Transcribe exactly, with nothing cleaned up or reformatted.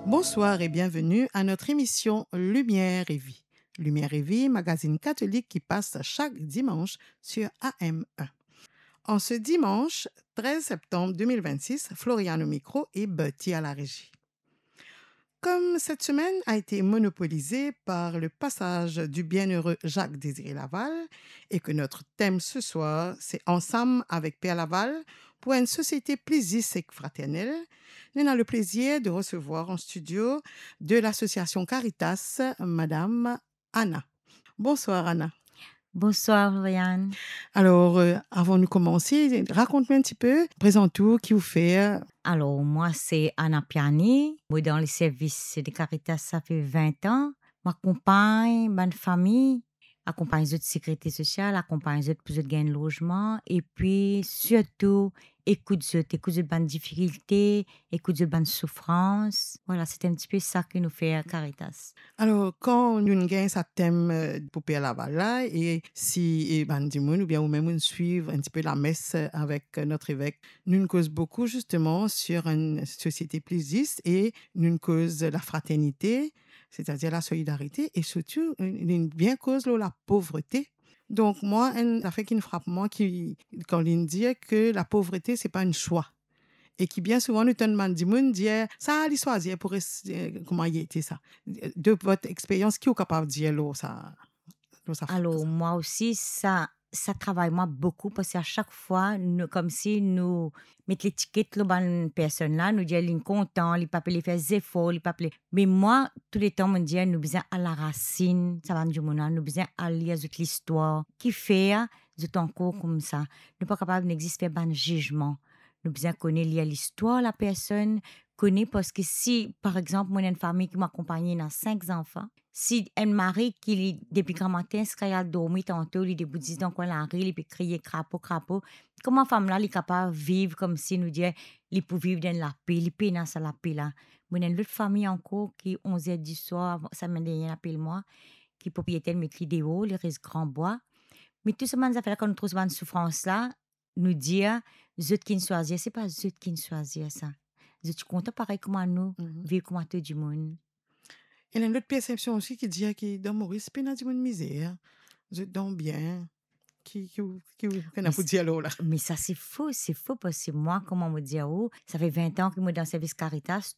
Bonsoir et bienvenue à notre émission Lumière et Vie. Lumière et Vie, magazine catholique qui passe chaque dimanche sur A M un. En ce dimanche treize septembre deux mille vingt-six, Floriane au micro et Bertie à la régie. Comme cette semaine a été monopolisée par le passage du bienheureux Jacques Désiré Laval et que notre thème ce soir, c'est Ensemble avec Père Laval pour une société plus juste et fraternelle, nous avons le plaisir de recevoir en studio de l'association Caritas, Madame Anna. Bonsoir Anna. Bonsoir Floriane. Alors, euh, avant de commencer, raconte-moi un petit peu, présente-toi, qui vous fait. Alors, moi, c'est Anna Piani. Moi, dans le service de Caritas, ça fait vingt ans. Mo akonpagn bann fami, akonpagn zot sekirite sosial, akonpagn zot pou zot gagn lozman, epi sirtou ekout zot, ekout zot bann difikilte, ekout zot bann soufrans. Vwala, se enn tipe sa ki nou fer Caritas. Alors, kan nou gagn sa tem, euh, pou Père Laval la, e si, e bann dimoun, oubien ou mem, ou swiv enn tipe lames, euh, avek, euh, notre évêque, nou koz boukou, zisteman, sur une société plus juste e nou koz la fraternité, c'est-à-dire la solidarité, et surtout, nou bien koz lor la pauvreté. Donk, mwa, enn zafer ki frap mwa, ki, kan li dir ke la pauvreté, c'est pas un choix. E ki bien souvan, nou tann bann dimoun dir, sa, li swazir pou res, euh, kouma li ete sa. De votre expérience, ki ou kapav dir lor sa, lor sa? Alors, moi aussi, ça, ça travaille moi beaucoup parce qu'à chaque fois, nous, comme si nous met letiket lor bann personn la, nou dir li kontan, li pa pe le fer zefor, li pa pe le. Me mwa, touletan, mo dir, nou bizin al larasinn sa bann dimoun la, nou bizin al lir zot listwar. Kifer zot ankor koumsa? Nou pa kapav nek zis fer bann zizman. Nou bizin kone lir listwar lapersonn, kone, parski si, par exanp, mo ena enn fami ki mo akonpagne, ena sink zanfan, si enn mari ki li, depi gramatin ziska li al dormi, tanto li debout zis dan kwin lari, li pe kriye, "Krapo, krapo." Kouma fam la, li kapav viv koumsi nou dir, li pou viv dan lape, li pena sa lape la? Mo ena enn lot fami ankor ki onz er diswar, avan, semenn dernie, apel mwa, ki propriyeter met li deor, li res Gran Bwa. Me tou sa bann zafer la, kan nou trouv sa bann soufrans la, nou dir, zot ki'nn swazir, se pa zot ki'nn swazir sa. Zot ti kontan parey kouma nou, mhm, viv kouma tou dimoun. Ena enn lot persepsion osi ki dir ki dan Moris, pena dimoun mizer, zot dan bien. Ki, ki, ki, ki ena pou dir lor la? Me sa, se fo, se fo, parski mwa, kouma mo dir ou, sa fer vin an ki mo dan servis Caritas,